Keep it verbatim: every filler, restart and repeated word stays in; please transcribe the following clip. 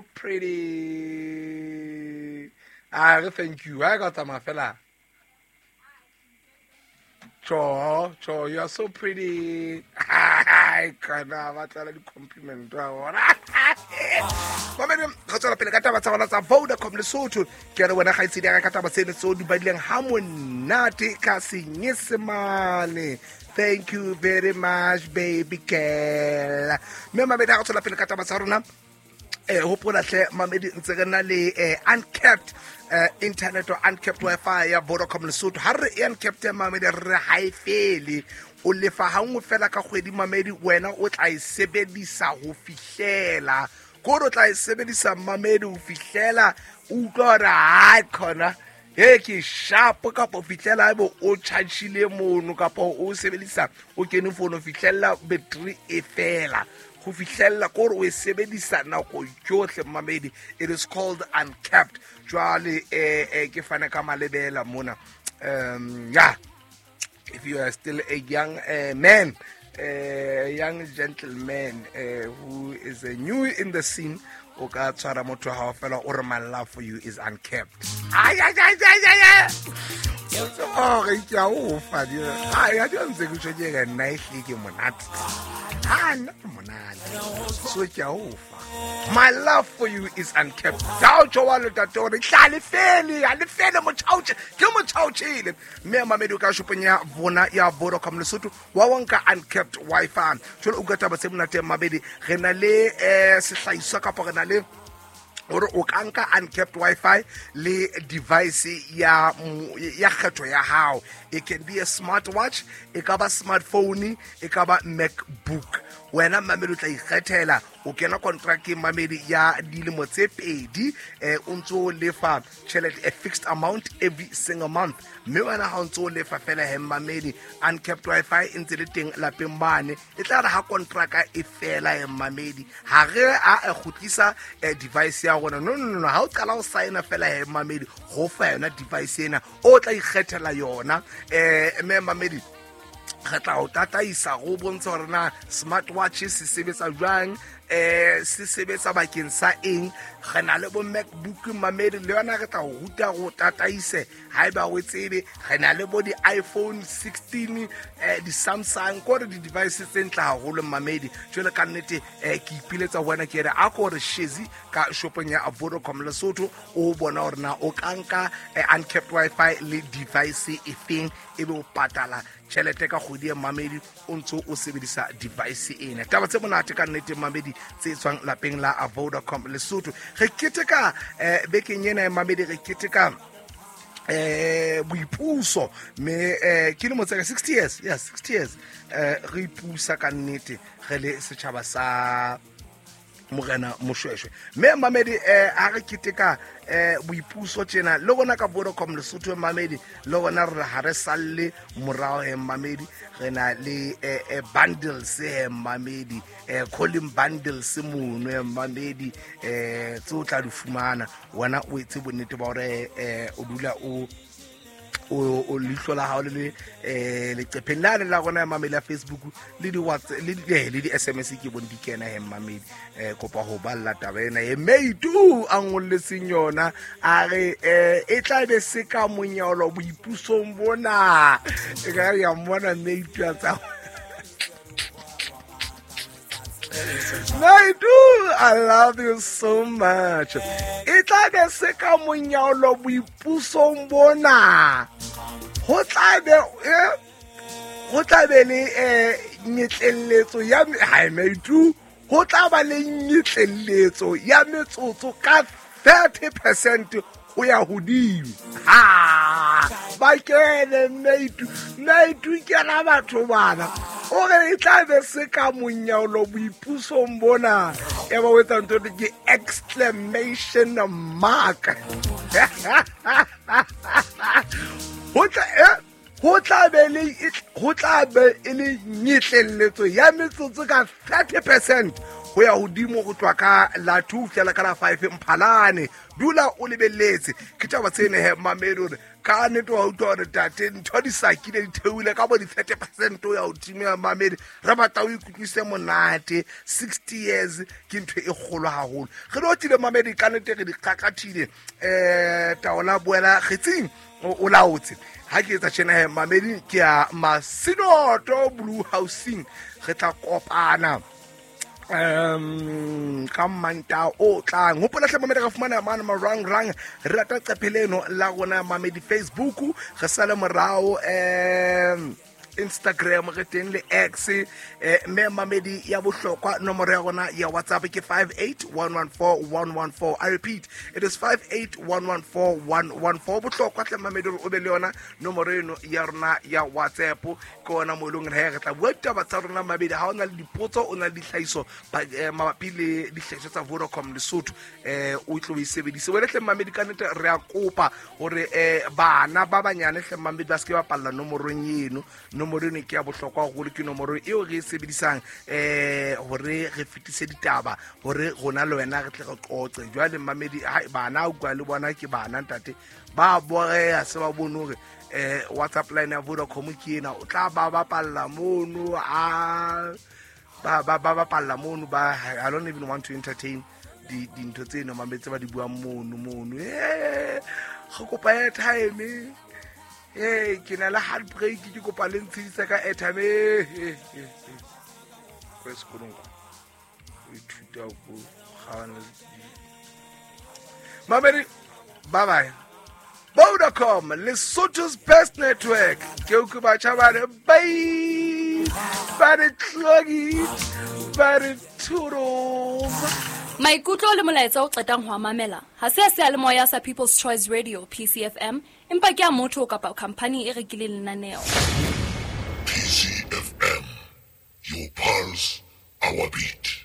so pretty. Ah, thank you. I got my fella. Cho, cho, you are so pretty. I can't compliment. Mamedi re tswela pele ka taba tsa rona tsa Vodacom Lesotho. Ke re wena kgaitsedi ya ka taba tseno tseo di badileng ha monate ka Senyesemane. Thank you very much, baby girl. Mme mamedi ha re tswela pele ka taba tsa rona, eh hopola hle mamedi ntse re na le eh, uncapped eh, internet or uncapped Wi-Fi ya Vodacom Lesotho. Ha re e uncapped mamedi re ha e fele, o lefa ha nngwe fela ka kgwedi mamedi, wena o tla e sebedisa ho fihlela kore o tla e sebedisa mamedi ho fihlela o utlwa hore hai khona he ke sharp, kapa ho fihlela ebe o charge-ile mono kapa o sebedisa o kene phone ho fihlela battery e fela, ho fihlella kore o e sebedisa nako yohle mamedi. It is called uncapped. Jwale eh, eh, ke fane ka malebela mona. Um yeah, if you are still a young uh, man, a uh, young gentleman uh, who is uh, new in the scene, o ka tshwara motho wa hao fela o re my love for you is uncapped. Ay ay ay ay ay ay. Oh, re ke a o fa di. Ay, a di ntse ke tjho ke nna e hle ke monate. Ha nna ke monate. So ke a o fa. My love for you is uncapped. Tao tjho wa le tate hore tla le fele, ha le fele motjhaotjhe, ke motjhaotjhele. Mme mamedi o ka shopong ya bona ya Vodacom Lesotho wa wanka uncapped Wi-Fi. Jwale o ka taba tse monate mamedi, re na le eh sehlahiswa kapa re na le hore o ka nka uncapped Wi-Fi le device ya ya kgetho ya hao. It can be a smartwatch, e ka ba smartphone, e ka ba MacBook. Wena mamedi o tla ikgethela, o kena contract mamedi ya dilemo tse pedi, eh o ntso lefa tjhelete a fixed amount every single month. Mme wena ha o ntso lefa fela he mamedi, uncapped Wi-Fi e ntse le teng lapeng mane. E tla re ha contract e fela he mamedi, ha re a e kgutlisa device ya rona. No no no, ha o qala o signa fela he mamedi, ho fa yona device ena o tla ikgethela yona. Eh mme mamedi re tla o tataisa go bontsha hore na smartwatch se sebetsa jwang, eh se sebetsa bakeng sa eng. Re na le bo MacBook mamedi, le yona re tla o ruta go tataise haeba o tsebe. Re na le bo di iPhone sixteen, eh di Samsung, kore di devices tse ntle haholo mamedi. Jwale ka nnete eh ke ipiletsa ho wena ke re a ko re shezi ka shopong ya Vodacom Lesotho o bona hore na o ka nka uncapped Wi-Fi le device e feng, ebe o patala tjhelete ka kgwedi ya mamedi o ntso o sebedisa device ena. Taba tse monate ka nnete mamedi tse tswang lapeng la Vodacom Lesotho. Re keteka eh bekeng ena ya mamedi, re keteka eh boipuso me eh ke lemo tsa sixty years, yeah sixty years eh re ipusa ka nnete re le setjhaba sa Morena Moshweshwe. Mme mamedi eh ha re keteka eh boipuso tjena le rona ka Vodacom Lesotho mamedi, le rona re ha re salle morao he mamedi, re na le eh bundles he mamedi, eh calling bundles mono he mamedi, eh tse o tla di fumana wena o etse bonnete ba hore eh o dula o o leihlo la hao le le eh leqepheng la la rona ya mamedi ya Facebook le di WhatsApp le di le di S M S ke bone di kena he mamedi. Eh kopa ho balla taba ena e meitu a ngolletseng yona, a re eh e tla be se ka monyolo boipusong bona. E ka ya mmona meitu a tsa Meitu, I love you so much. E tla be se ka monyolo boipusong bona. Ho tla be eh ho tla be le eh nyetleletso ya ha meitu, ho tla ba le nyetleletso ya metsotso ka thirty percent ho ya hodimo. Ha ba kene meitu, meitu ke ra batho bana. O re e tla be se ka monyolo boipusong bona. E ba o etsa ntho ke exclamation mark. Ho tla eh ho tla be le ho tla be e le nyetleletso ya metsotso ka thirty percent ho ya hodimo go tloha ka la two fihlela ka la five Mphalane. Dula o lebelletse ke taba tsene he mamedi hore ka nnete wa utlwa hore tate ntho di sakile di theohile ka bo di-thirty percent ho ya hodimo ya mamedi. Re batla o ikutlwise monate. Sixty years ke ntho e kgolo haholo. Re di otile mamedi ka nnete, re di qaqathile. um taola boela kgetsing o laotse. Ha ke etsa tjena he mamedi, ke ya Masinoto Blue Housing. Re tla kopana um ka Manta o tlang. Hopola hle mamedi, re fumana mane marangrang, re rata qephe leno la rona mamedi Facebook, re sale morao um Instagram, re teng le X. eh mme mamedi ya bohlokwa, nomoro ya rona ya WhatsApp ke five eight one one four one one four. I repeat, it is five eight one one four one one four. Bohlokwa hle mamedi hore o be le yona nomoro eno ya rona ya WhatsApp, ke ona mo eleng hore re tla bua ditaba tsa rona mamedi. Ha o na le dipotso, o na le ditlhahiso mabapi le dihlahiswa tsa Vodacom Lesotho, eh o tlo e sebedise. Wena hle mamedi, ka nnete re a kopa hore eh bana ba banyane hle mamedi ba se ke ba palla nomorong eno. Nomoro eno ke ya bohlokwa haholo, ke nomoro eo re e sebedisang eh hore re fetise ditaba, hore rona le wena re tle re qoqe. Jwale mamedi, bana o utlwa le bona ke bana ntate ba boreha, se ba bone hore eh WhatsApp line ya Vodacom ke ena, o tla ba bapalla mono, a ba ba ba bapalla mono ba. I don't even want to entertain di dintho tseno mamedi tse ba di buang mono mono. Eh re kopa airtime, eh ke na le heartbreak, ke kopa le ntshedisa ka airtime. Eh ko sekolong o ithuta ko kgawana. Mamedi, bye bye. Vodacom, Lesotho's best network. Ke o ke batjha ba re bye, ba re tlogi, ba re toodles. Maikutlo le molaetsa o qetang ho mamela ha se a seyalemoya sa People's Choice Radio P C F M, empa ke a motho kapa khampani e rekileng lenaneo. P C F M, your pulse, our beat.